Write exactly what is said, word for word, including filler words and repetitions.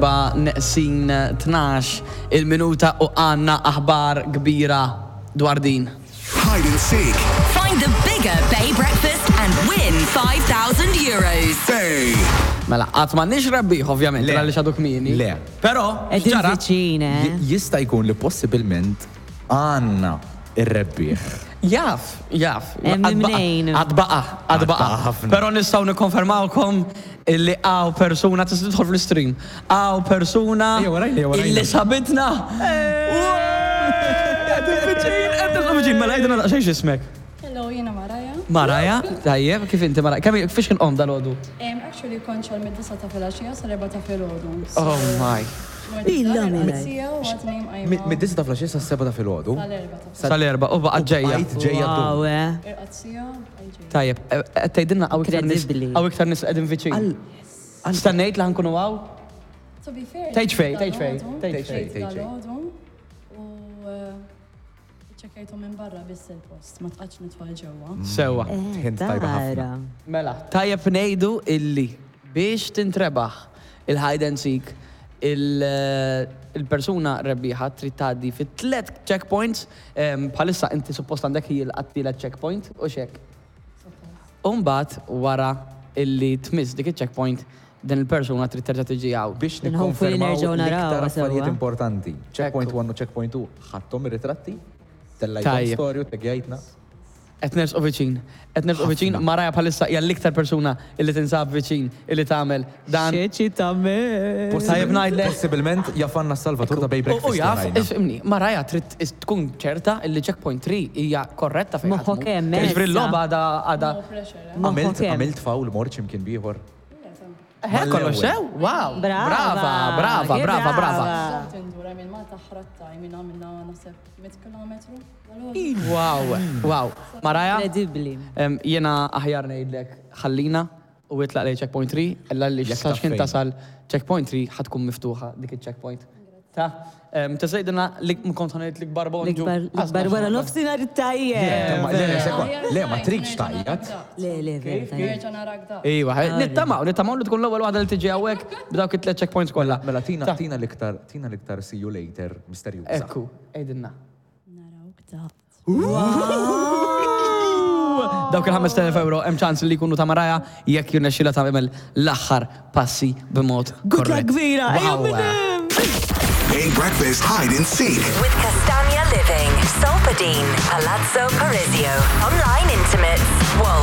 L-erbgħa neqsin tnax il-minuta u għandna aħbar kbira dwar din. Hide and seek. Find the bigger Bay Breakfast and win five thousand euros. Bay. Mela, għad m'għandniex rebbieħ, ovvjament, Le. għaliex għadu kmieni. Le. Però, Qegħdin x'ġara? viċin, eh? J- Jista' jkun li possibilment għandna ir-rebbieħ. Jaf, jaf. Hemm Għad baqa', mnejn. għad baqa', għad baqa'. Għad baqa' ħafna. Però nistgħu nikkonfermawkom illi hawn persuna, tista' tidħol fl-stream. Hawn persuna Ejja, warajna, ejja, warajna. illi sabitna. Qegħdin viċin, qegħdin viċin, mela għidilna daqsxejn x'ismek. Hello, jiena Maraja. Maraja, tajjeb, kif inti, Maraja? Kemm fiex kien qom dal-għodu? Um, actually, kont xogħol mid-disgħa ta' filgħaxija sal-erbgħa ta' filgħodu. Oh my. Illa mela. Mid-disgħa ta' filgħaxija sas-sebgħa ta' filgħodu. Sal-erbgħa ta' Sal-erbgħa, u baqgħet ġejja. Bqajt ġejja Wow, ddum. eh. Irqadt siegħa, bqajt ġejja. Tajjeb, qed tgħidilna hawn iktar nies Incredibly. hawn iktar nies qegħdin viċin. Stennejt li ħa nkunu hawn? To be fair, Tgħid fejn, tgħid fejn, dal-għodu, tgħid fejn, tgħid fejn. Dal-għodu, u eh, ċekkejtu minn barra biss il-post, ma tqax nidħol ġewwa. Sewwa. Hint tajba ħafna. Tara. Mela, tajjeb ngħidu illi biex tintrebaħ il-hide and seek, il- il-persuna rebbieħa trid tgħaddi fit tliet checkpoints, em, bħalissa inti suppost għandek hi l-tielet checkpoint u xek. Umbagħad wara illi tmiss dik il-checkpoint, din il-persuna trid terġa' tiġi hawn. Biex Nħofu li nikkonfermaw nerġgħu naraw, l-iktar affarijiet sewwa. importanti. Checkpoint Ekku. one u checkpoint two ħadthom ir-ritratti, tellajthom Tajjeb. story u taggjajtna. Qed nersqu viċin. Qed nersqu viċin, Maraja bħalissa hija l-iktar persuna illi tinsab viċin illi tagħmel dan. Eċitament. Tajjeb ngħidlek. Possibilment jafanna s-salvatur ta' Bay U Breakfast. u jaf, rajna. ifhimni, Maraja trid is- tkun ċerta illi checkpoint tlieta hija korretta fejn Moħħok ħadmu. hemm, Jiġifieri issa. l-logħba għada għada. No pressure, eh? Għamilt Moħħok hemm. għamilt foul mort x'imkien bieħor. Eh, kollox sew? Wow. Brava. Brava, brava, Che brava, brava. Żomt indura minn Malta ħratta, minn għamilna naħseb mitt kilometru dal-għodu. Wow, wow. Maraja, Incredibly. em, jiena aħjar ngħidlek ħallina u itlaq lejn checkpoint tlieta, illa li Jekk sax taf kien fejn. tasal checkpoint tlieta ħa tkun miftuħa dik il-checkpoint. Ta' em, tista' tgħidilna li kont ħa ngħid l-ikbar bonġu. L-ikbar, l-ikbar wara nofsinhar it-tajjeb. Ma- Le, le, sekwa- le, ma tridx tgħajjat. Le, le, vera, tajjeb. Nerġa' narak da. Iva, nittamaw, nittamaw li tkun l-ewwel waħda li tiġi hawnhekk b'dawk it-tliet checkpoints kollha. Mela tina Ta' tina l-iktar tina l-iktar see you later misterjuża. Ekku, għidilna. Narawk da. Dawk il-ħamest elef euro hemm ċans li jkunu ta' Maraja jekk jirnexxilha tagħmel l-aħħar passi b'mod Good luck korrett. kbira. Ejja, Wow. minn hemm. Bay Breakfast Hide and Seek. With Castagna Living, Solpadeine, Palazzo Parisio, Online Intimates, Wolt.